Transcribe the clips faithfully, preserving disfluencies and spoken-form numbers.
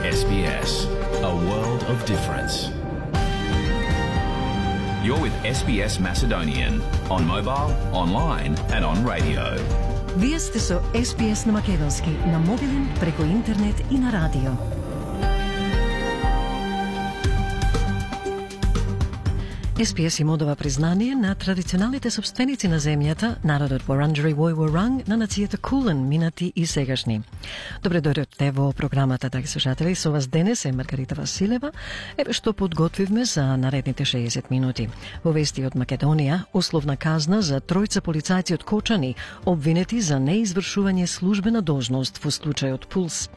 S B S, a world of difference. You're with S B S Macedonian on mobile, online and on radio. Вие сте со С Б С на македонски, на мобилен, преку интернет и на радио. С Б С им одава признание на традиционалните собственици на земјата, народот Вуранџари Вој-Вуранг, на нацијата Кулен, минати и сегашни. Добре дојдовте во програмата, драги слушатели. Со вас денес е Маргарита Василева. Еве што подготвивме за наредните шеесет минути. Во вести од Македонија, условна казна за тројца полицајци од Кочани, обвинети за неизвршување службена должност во случајот Пулс.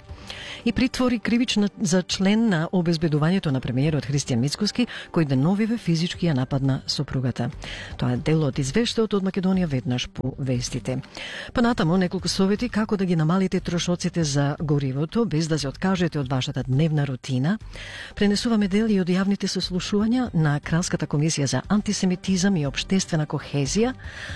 И притвори кривична за член на обезбедувањето на премиерот Христијан Мицкоски, кој деновиве физички ја нападна сопругата. Тоа е дел од извештајот од Македонија веднаш по вестите. Понатаму неколку совети како да ги намалите трошоците за горивото без да се откажете од вашата дневна рутина. Пренесуваме дели од јавните сослушувања на Кралската комисија за антисемитизам и општествена кохезија,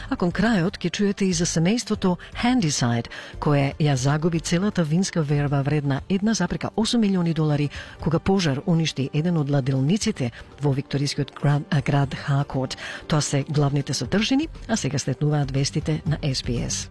а кон крајот ќе чуете и за семејството Handyside, кое ја загуби целата винска верба вредна една запрека осум милиони долари кога пожар уништи еден од ладилниците во викторискиот град, град Хакот. Тоа се главните содржини, а сега следнуваат вестите на С Б С.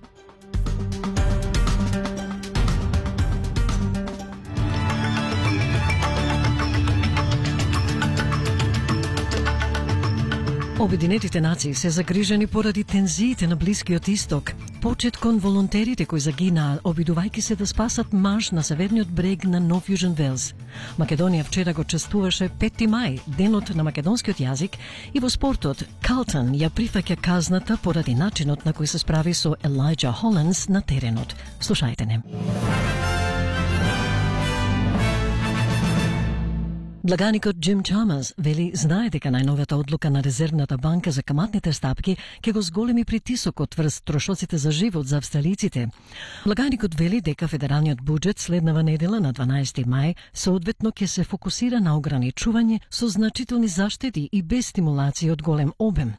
Обединетите нации се загрижени поради тензиите на Блискиот Исток. Почет кон волонтерите кои загинаа, обидувајќи се да спасат маж на северниот брег на Нов Јужен Велс. Македонија вчера го чествуваше пети мај, денот на македонскиот јазик, и во спортот Калтон ја прифаќа казната поради начинот на кој се справи со Елајџа Холандс на теренот. Слушајте не. Благаникот Джим Чамас вели знае дека најновата одлука на Резервната банка за каматните стапки ќе го зголеми притисокот врз трошоците за живот за австралиците. Благаникот вели дека федералниот буџет следнава недела на дванаесети мај соодветно ќе се фокусира на ограничување со значителни заштеди и без стимулација од голем обем.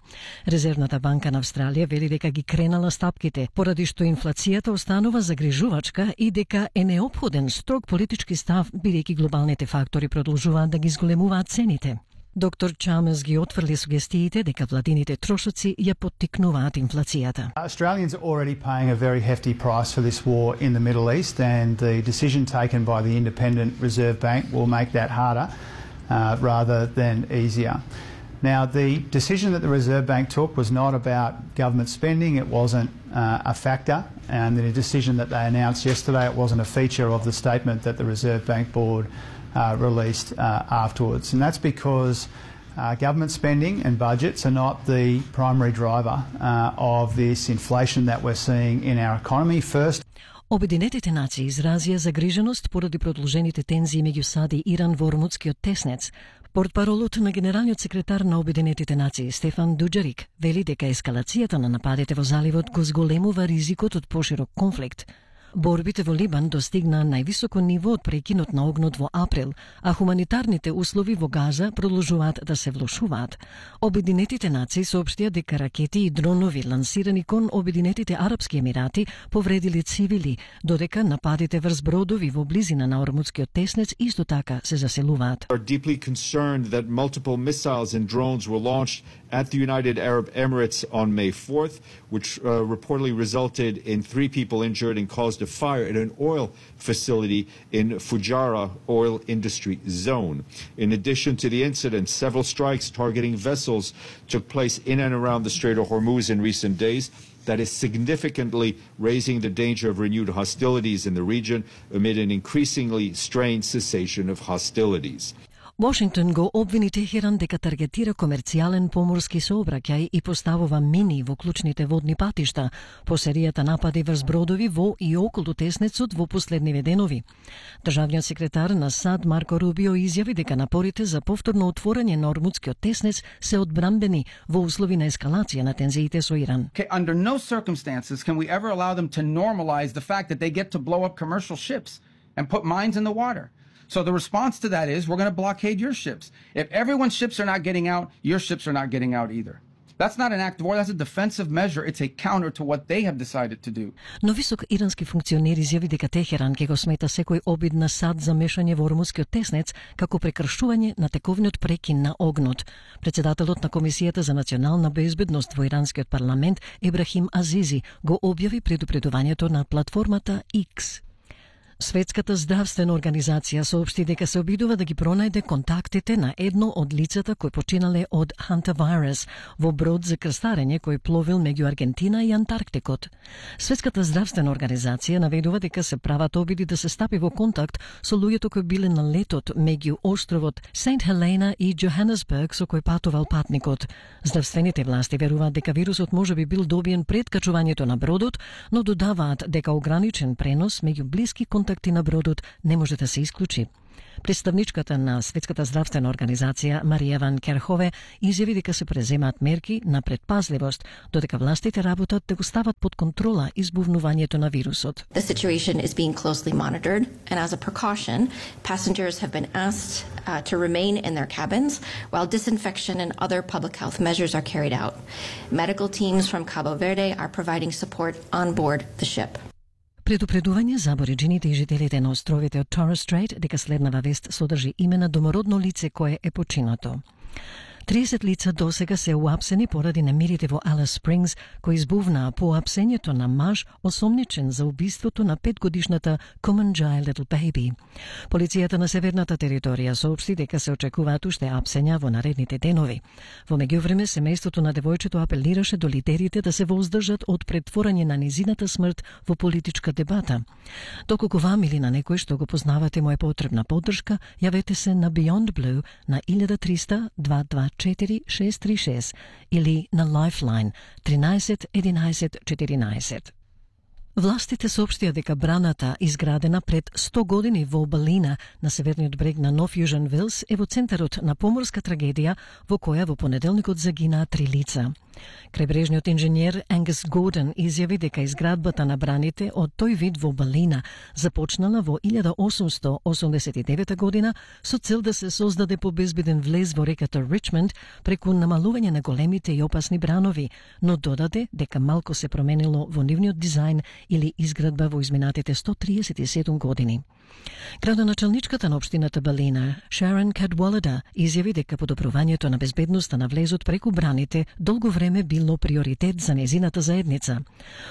Резервната банка на Австралија вели дека ги кренала стапките поради што инфлацијата останува загрижувачка и дека е неопходен строг политички став бидејќи глобалните фактори продолжуваат да ги зголемуваат цените. Доктор Чамес ги отфрли сугестиите дека владините трошоци ја поттикнуваат инфлацијата. Australians are already paying a very hefty price for this war in the Middle East, and the decision taken by the Independent Reserve Bank will make that harder uh, rather than easier. Now, the decision that the Reserve Bank took was not about government spending. It wasn't uh, a factor, and the decision that they announced yesterday, it wasn't a feature of the statement that the Reserve Bank Board Uh, released uh, afterwards. And that's because uh, government spending and budgets are not the primary driver uh, of this inflation that we're seeing in our economy. First, Обединетите нации изразија загриженост поради продолжените тензии меѓу САД и Иран во Ормудскиот теснец. Портпаролот на генералниот секретар на Обединетите нации Стефан Дуџарик вели дека ескалацијата на нападите во заливот го зголемува ризикот од поширок конфликт. Борбите во Либан достигна највисоко ниво од прекинот на огнот во април, а хуманитарните услови во Газа продолжуваат да се влошуваат. Обединетите нации соопштија дека ракети и дронови лансирани кон Обединетите Арапски Емирати повредили цивили, додека нападите врз бродови во близина на Ормудскиот теснец исто така се заселуваат. Are deeply concerned that multiple missiles and drones were launched at the United Arab Emirates on May fourth, which uh, reportedly resulted in three people injured and caused a fire at an oil facility in Fujairah oil industry zone. In addition to the incident, several strikes targeting vessels took place in and around the Strait of Hormuz in recent days. That is significantly raising the danger of renewed hostilities in the region amid an increasingly strained cessation of hostilities. Вашингтон го обвини Техеран дека таргетира комерцијален поморски сообраќај и поставува мини во клучните водни патишта по серијата напади врз бродови во и околу теснецот во последниве денови. Државниот секретар на САД Марко Рубио изјави дека напорите за повторно отворање на Ормудскиот теснец се одбрамбени во услови на ескалација на тензиите со Иран. Okay, under no circumstances can we ever allow them to normalize the fact that they get to blow up commercial ships and put mines in the water. So the response to that is we're going to blockade your ships. If everyone's ships are not getting out, your ships are not getting out either. That's not an act of war, that's a defensive measure. It's a counter to what they have decided to do. Но висок ирански функционер изјави дека Техеран ќе го смета секој обид на САД за мешање во ормускиот теснец како прекршување на тековниот прекин на огнот. Председателот на Комисијата за национална безбедност во иранскиот парламент Ебрахим Азизи го објави предупредувањето на платформата X. Светската здравствена организација соопшти дека се обидува да ги пронајде контактите на едно од лицата кои починале од хантавирус во брод за крстарење кој пловил меѓу Аргентина и Антарктикот. Светската здравствена организација наведува дека се прават обиди да се стапи во контакт со луѓето кои биле на летот меѓу островот Сент Хелена и Джоханесбург со кој патувал патникот. Здравствените власти веруваат дека вирусот може би бил добиен пред качувањето на бродот, но додаваат дека ограничен пренос меѓу блиски контакти на бродот не може да се исклучи. Представничката на Светската здравствена организација Марија Ван Керхове изјави дека се преземаат мерки на предпазливост, додека властите работат да го стават под контрола избувнувањето на вирусот. The situation is being closely monitored, and as a precaution, passengers have been asked uh, to remain in their cabins while disinfection and other public health measures are carried out. Medical teams from Cabo Verde are providing support on board the ship. Предупредување за абориџините и жителите на островите од Torres Strait дека следнава вест содржи име на домородно лице кое е починато. триесет лица досега се уапсени поради немирите во Алис Спрингс, кои избувнаа по уапсењето на маж осомничен за убиството на петгодишната Common-Jai Little Baby. Полицијата на северната територија соопшти дека се очекуваат уште апсења во наредните денови. Во меѓувреме, семејството на девојчето апелираше до лидерите да се воздржат од претворање на низината смрт во политичка дебата. Доколку вам или на некој што го познавате му е потребна поддршка, јавете се на Beyond Blue на еден триста дваесет и две четири шест три шест или на Lifeline тринаесет единаесет четиринаесет. Властите соопштија дека браната, изградена пред сто години во Балина, на северниот брег на Нов Јужен Велс, е во центарот на поморска трагедија во која во понеделникот загинаа три лица. Крајбрежниот инженер Ангус Гордон изјави дека изградбата на браните од тој вид во Балина започнала во илјада осумстотини осумдесет и девета година со цел да се создаде побезбеден влез во реката Ричмонд преку намалување на големите и опасни бранови, но додаде дека малку се променило во нивниот дизајн или изградба во изминатите сто триесет и седум години. Градоначалничката на општината Балина, Sharon Cadwallader, изјави дека подобрувањето на безбедноста на влезот преку браните долго време било приоритет за незината заедница.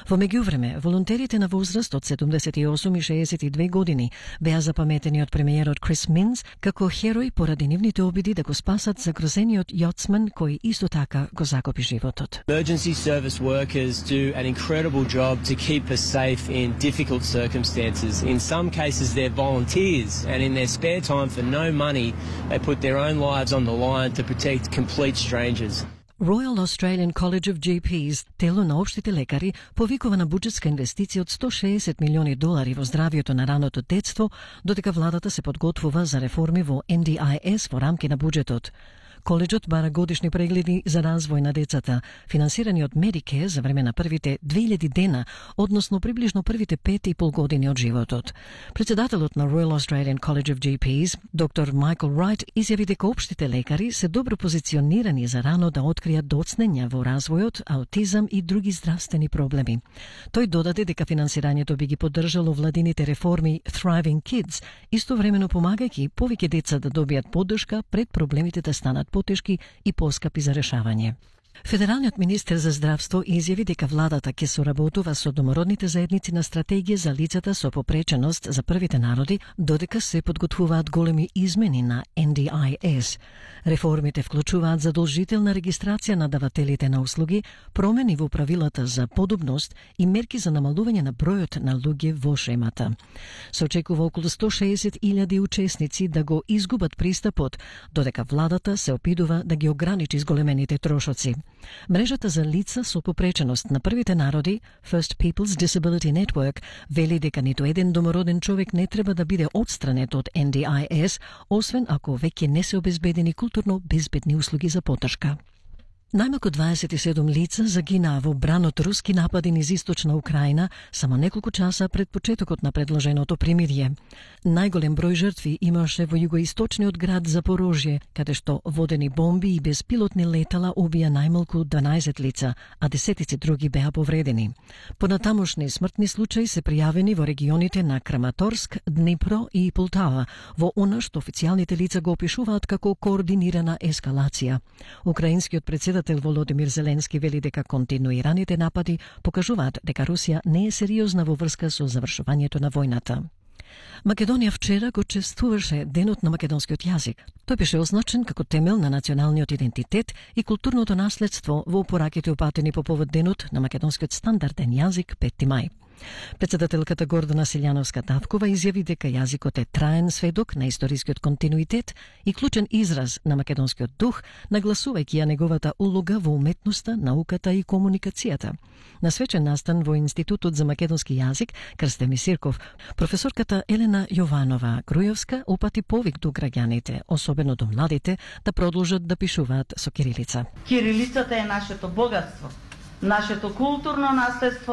Во меѓувреме, волонтерите на возраст од седумдесет и осум и шеесет и две години беа запаметени од премиерот Крис Минс како херои поради нивните обиди да го спасат загрозениот јоцман кој исто така го закопи животот. Emergency service workers do an incredible job to keep us safe in difficult circumstances. In some cases they're volunteers, and in their spare time for no money they put their own lives on the line to protect complete strangers. Royal Australian College of G Ps, тело на општите лекари, повикува на буџетска инвестиција од сто шеесет милиони долари во здравието на раното детство, додека владата се подготвува за реформи во Н Д I S во рамки на буџетот. Коледжот бара годишни прегледи за развој на децата, финансирани од Medicare за време на првите две илјади дена, односно приближно првите пет и пол години од животот. Председателот на Royal Australian College of G Ps, доктор Майкл Райт, изјави дека општите лекари се добро позиционирани за рано да откријат доцнења во развојот, аутизам и други здравствени проблеми. Тој додаде дека финансирањето би ги поддржало владините реформи Thriving Kids, истовремено помагајќи повеќе деца да добијат поддршка пред проблемите да станат потешки и поскапи за решавање. Федералниот министер за здравство изјави дека владата ќе соработува со домородните заедници на стратегија за лицата со попреченост за првите народи, додека се подготвуваат големи измени на Н Д I S. Реформите вклучуваат задолжителна регистрација на давателите на услуги, промени во правилата за подобност и мерки за намалување на бројот на луѓе во шемата. Се очекува околу сто шеесет илјади учесници да го изгубат пристапот, додека владата се опидува да ги ограничи зголемените трошоци. Мрежата за лица со попреченост на првите народи, First People's Disability Network, вели дека ниту еден домороден човек не треба да биде отстранет од Н Д I S, освен ако веќе не се обезбедени културно безбедни услуги за поддршка. Најмалку дваесет и седум лица загинаа во бран од руски напади низ источна Украина само неколку часа пред почетокот на предложеното примирие. Најголем број жртви имаше во југоисточниот град Запорожје, каде што водени бомби и безпилотни летала убија најмалку дванаесет лица, а десетици други беа повредени. Понатамошни смртни случаи се пријавени во регионите на Краматорск, Днипро и Полтава, во она што официјалните лица го опишуваат како координирана ескалација. Украинскиот председател Володимир Зеленски вели дека континуираните напади покажуваат дека Русија не е сериозна во врска со завршувањето на војната. Македонија вчера го чествуваше Денот на македонскиот јазик. Тој беше означен како темел на националниот идентитет и културното наследство во пораките упатени по повод Денот на македонскиот стандарден јазик пети мај. Председателката Гордана Силјановска-Тавкова изјави дека јазикот е траен сведок на историскиот континуитет и клучен израз на македонскиот дух, нагласувајќи ја неговата улога во уметноста, науката и комуникацијата. На свечен настан во Институтот за македонски јазик Крстеми Сирков, професорката Елена Јованова Грујовска упати повик до граѓаните, особено до младите, да продолжат да пишуваат со кирилица. Кирилицата е нашето богатство, нашето културно наследство